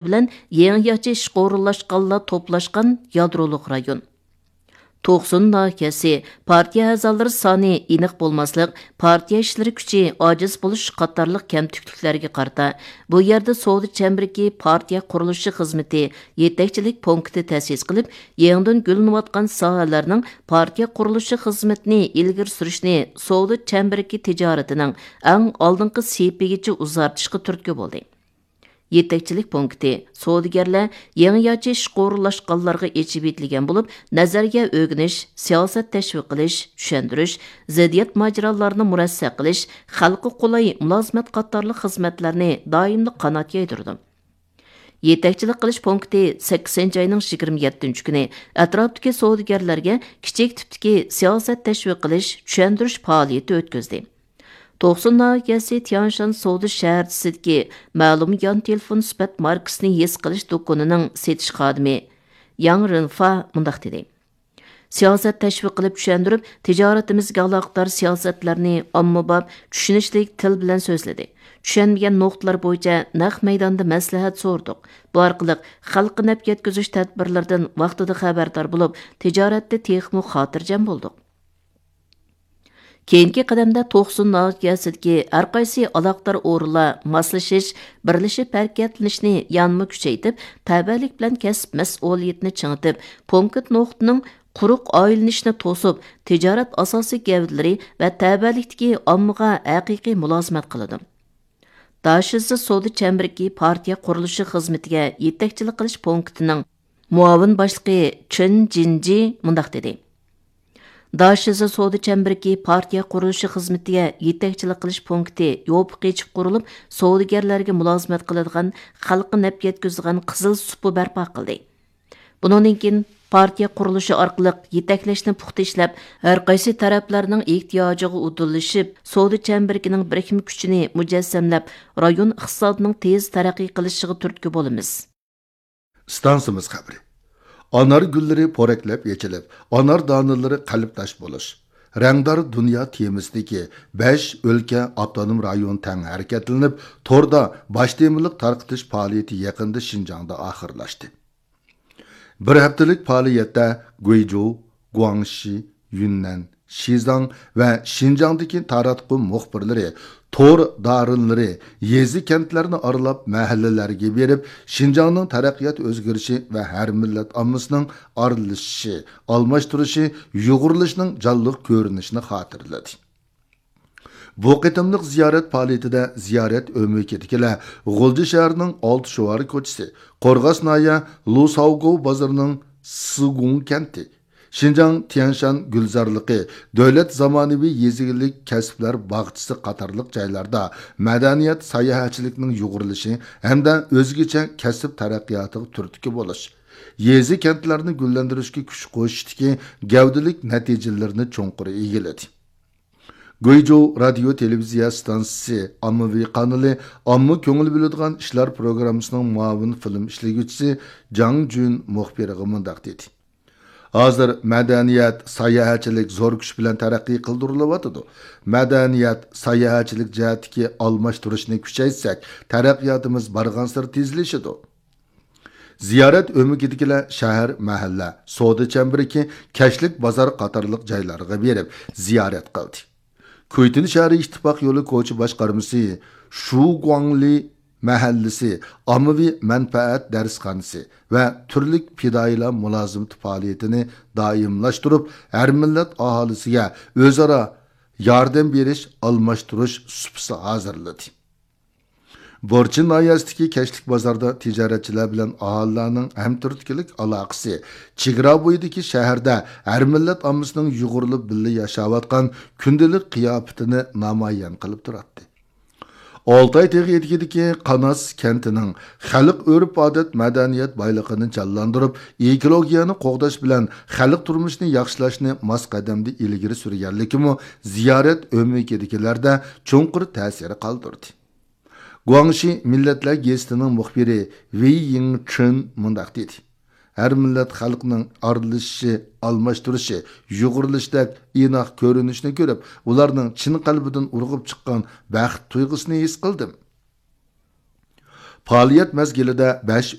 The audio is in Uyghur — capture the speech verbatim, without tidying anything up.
بىلەن يېڭىچە ئىشقا ئورۇنلاشقانلار توپلاشقان يادرولۇق رايون. توقسۇن ناھىيەسى پارتىيە ئەزالىرى سانى ئېنىق بولماسلىق، پارتىيە ئىشلىرى كۈچى ئاجىز بولۇش قاتارلىق كەمتۈكلۈكلەرگە قارىتا، بۇ يەردە سودا چەمبىرىكى پارتىيە قۇرۇلۇشى خىزمىتى يېتەكچىلىك پونكىتى تەسىس قىلىپ، يېڭىدىن گۈللىنىۋاتقان ساھەلەرنىڭ پارتىيە قۇرۇلۇشى خىزمىتىنى ئىلگىرى سۈرۈشنى سودا چەمبىرىكى تىجارىتىنىڭ ئەڭ ئالدىنقى سېپىگىچە ئۇزارتىشقا تۈرتكە بولدى. يېتەكچىلىك پونكىتى سودىگەرلەر يېڭىچە ئىشقا ئورۇنلاشقانلارغا ئېچىۋېتىلگەن بولۇپ، نەزەرىيە ئۆگىنىش، سىياسەت تەشۋىق قىلىش، چۈشەندۈرۈش، زىددىيەت ماجىرالارنى مۇرەسسە قىلىش، خەلققە قولاي مۇلازىمەت قاتارلىق خىزمەتلەرنى دائىملىق قانات يايدۇرىدۇ. يېتەكچىلىك قىلىش پونكىتى سەككىزىنچى ئاينىڭ يىگىرمە يەتتىنچى كۈنى ئەتراپتىكى سودىگەرلەرگە كىچىك تىپتىكى سىياسەت تەشۋىق قىلىش، چۈشەندۈرۈش پائالىيىتى ئۆتكۈزدى. توقسۇن ناھىيەسى تيەنشان سودا شەھەرچىسىدىكى مەلۇم يان تېلېفون سۈپەت ماركىسىنى ھېس قىلىش دۇكىنىنىڭ سېتىش خادىمى ياڭ رېنفا مۇنداق دېدى: سىياسەت تەشۋىق قىلىپ چۈشەندۈرۈپ، تىجارىتىمىزگە ئالاقىدار سىياسەتلەرنى ئاممىباب، چۈشىنىشلىك تىل بىلەن سۆزلىدى. چۈشەنمىگەن نۇقتىلار بويىچە نەق مەيداندا مەسلىھەت سورىدۇق. بۇ ئارقىلىق خەلققە نەپ يەتكۈزۈش تەدبىرلىرىدىن ۋاقتىدا خەۋەردار بولۇپ، تىجارەتتە تېخىمۇ خاتىرجەم بولدۇق. كېيىنكى قەدەمدە توقسۇن ناھىيەسىدىكى ھەرقايسى ئالاقىدار ئورۇنلار ماسلىشىش، بىرلىشىپ ھەرىكەتلىنىشنى يەنىمۇ كۈچەيتىپ، تەۋەلىك بىلەن كەسىپ مەسئۇلىيىتىنى چىڭىتىپ، پونكىت نۇقتىنىڭ قۇرۇق ئايلىنىشىنى توسۇپ، تىجارەت ئاساسىي گەۋدىلىرى ۋە تەۋەلىكتىكى ئاممىغا ھەقىقىي مۇلازىمەت قىلىدۇ. داشىزى سودا چەمبىرىكى پارتىيە قۇرۇلۇشى خىزمىتىگە يېتەكچىلىك قىلىش پونكىتىنىڭ مۇئاۋىن باشلىقى چېن جىنجى مۇنداق دېدى: داشىزى سودا چەمبىرىكى پارتىيە قۇرۇلۇشى خىزمىتىگە يېتەكچىلىك قىلىش پونكىتى يوپۇق ئېچىپ قۇرۇلۇپ، سودىگەرلەرگە مۇلازىمەت قىلىدىغان، خەلققە نەپ يەتكۈزىدىغان قىزىل سۇپا بەرپا قىلدى. بۇنىڭدىن كېيىن پارتىيە قۇرۇلۇشى ئارقىلىق يېتەكلەشنى پۇختا ئىشلەپ، ھەرقايسى تەرەپلەرنىڭ ئېھتىياجىغا ئۇدۇللىشىپ، سودا چەمبىرىكىنىڭ بىرىكمە كۈچىنى مۇجەسسەملەپ، رايون ئىقتىسادىنىڭ تېز تەرەققىي قىلىشىغا تۈرتكە بولىمىز. ئىستانسىمىز خەۋىرى. ئانار گۈللىرى پورەكلەپ ئېچىلىپ، ئانار دانىلىرى قەلبداش بولۇش، رەڭدار دۇنيا تېمىسىدىكى بەش ئۆلكە، ئاپتونوم رايون تەڭ ھەرىكەتلىنىپ، توردا باش تېمىلىق تارقىتىش پائالىيىتى يېقىندا شىنجاڭدا ئاخىرلاشتى. بىر ھەپتىلىك پائالىيەتتە گۇيجۇ، گۇاڭشى، يۈننەن، شىزاڭ ۋە شىنجاڭدىكى تاراتقۇ مۇخبىرلىرى، تور دارىنلىرى يېزا، كەنتلەرنى ئارىلاپ، مەھەللىلەرگە بېرىپ، شىنجاڭنىڭ تەرەققىيات ئۆزگىرىشى ۋە ھەر مىللەت ئاممىسىنىڭ ئارىلىشىشى، ئالماشتۇرۇشى، يۇغۇرۇلۇشىنىڭ جانلىق كۆرۈنۈشىنى خاتىرىلىدى. بۇ قېتىملىق زىيارەت پائالىيىتىدە زىيارەت ئۆمىكىدىكىلەر غۇلجا شەھىرىنىڭ ئالتە شوۋار كوچىسى، قورغاس ناھىيە لۇساۋگو بازىرىنىڭ سىگۇڭ كەنتى، شىنجاڭ تيەنشان گۈلزارلىقى، دۆلەت زامانىۋى يېزا ئىگىلىك كەسىپلەر باغچىسى قاتارلىق جايلاردا مەدەنىيەت، ساياھەتچىلىكنىڭ يۇغۇرۇلۇشى ھەمدە ئۆزگىچە كەسىپ تەرەققىياتىغا تۈرتكە بولۇش، يېزا، كەنتلەرنى گۈللەندۈرۈشكە كۈچ قوشۇشتىكى گەۋدىلىك نەتىجىلىرىنى چوڭقۇر ئىگىلىدى. گۇيجۇ رادىيو تېلېۋىزىيە ئىستانسىسى ئاممىۋى قانىلى ئامما كۆڭۈل بۆلىدىغان ئىشلار پروگراممىسىنىڭ مۇئاۋىن فىلىم ئىشلىگۈچىسى جاڭ جۈن مۇخبىرغا مۇنداق دېدى: ھازىر مەدەنىيەت، ساياھەتچىلىك زور كۈچ بىلەن تەرەققىي قىلدۇرۇلۇۋاتىدۇ. مەدەنىيەت، ساياھەتچىلىك جەھەتتىكى ئالماشتۇرۇشنى كۈچەيتسەك، تەرەققىياتىمىز بارغانسېرى تېزلىشىدۇ. زىيارەت ئۆمىكىدىكىلەر شەھەر، مەھەللە، سودا چەمبىرىكى، كەچلىك بازار قاتارلىق جايلارغا بېرىپ زىيارەت قىلدى. كۇيتىن شەھىرى ئىتتىپاق يولى كوچا باشقارمىسى شۇگۇاڭلى مەھەللىسى ئاممىۋى مەنپەئەت دەرسخانىسى ۋە تۈرلۈك پىدائىيلار مۇلازىمىتى پائالىيىتىنى دائىملاشتۇرۇپ، ھەر مىللەت ئاھالىسىگە ئۆزئارا ياردەم بېرىش، ئالماشتۇرۇش سۇپىسى ھازىرلىدى. بورچىن ناھىيەسىدىكى كەچلىك بازاردا تىجارەتچىلەر بىلەن ئاھالىلەرنىڭ ھەمتۈرتكىلىك ئالاقىسى، چېگرا بويىدىكى شەھەردە ھەر مىللەت ئاممىسىنىڭ يۇغۇرۇلۇپ بىللە ياشاۋاتقان كۈندىلىك قىياپىتىنى نامايان قىلىپ تۇراتتى. ئالتاي تېغى ئېتىكىدىكى قاناس كەنتىنىڭ خەلق ئۆرپ-ئادەت، مەدەنىيەت بايلىقىنى جانلاندۇرۇپ، ئېكولوگىيەنى قوغداش بىلەن خەلق تۇرمۇشىنى ياخشىلاشنى ماس قەدەمدە ئىلگىرى سۈرگەنلىكىمۇ زىيارەت ئۆمىكىدىكىلەردە چوڭقۇر تەسىر قالدۇردى. گۇاڭشى مىللەتلەر گېزىتىنىڭ مۇخبىرى ۋېي يىڭچېن مۇنداق دېدى: ھەر مىللەت خەلقنىڭ ئارىلىشىشى، ئالماشتۇرۇشى، يۇغۇرۇلۇشىدەك ئىناق كۆرۈنۈشنى كۆرۈپ، ئۇلارنىڭ چىن قەلبىدىن ئۇرغۇپ چىققان بەخت تۇيغۇسىنى ھېس قىلدىم. پائالىيەت مەزگىلىدە بەش